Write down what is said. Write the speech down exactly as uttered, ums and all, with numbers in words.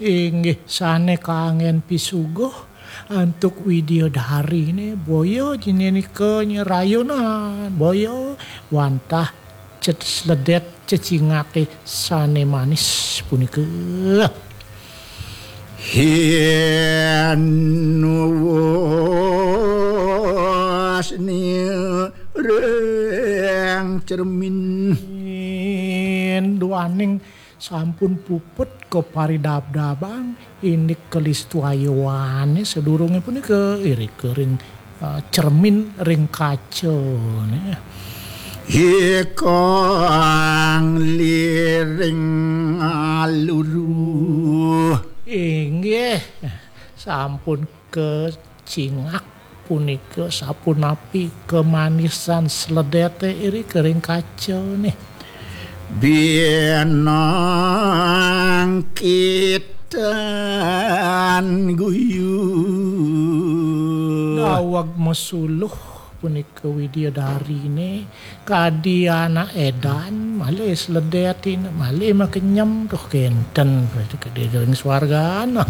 Inggih sane kangen pisuguh antuk widyadari ne, boya jine nika nyerayonan, boya wantah cet sledet cecingake sane manis punika. Yen wasni reng cermin. Duaning sampun puput kaparidabdabang indik kalistuayawane sadurunge punika irika ring, eh, cermin ring kacane. Ikang liring aluru. Inggih, sampun kecingak punika sapunapi kemanisan sledete irika ring kacane. Binangkitan guyu. Daweg masuluh punika widyadarine kadi anak edan, malih sledetine, malih makenyem, duh kenten, kadi ring swargana.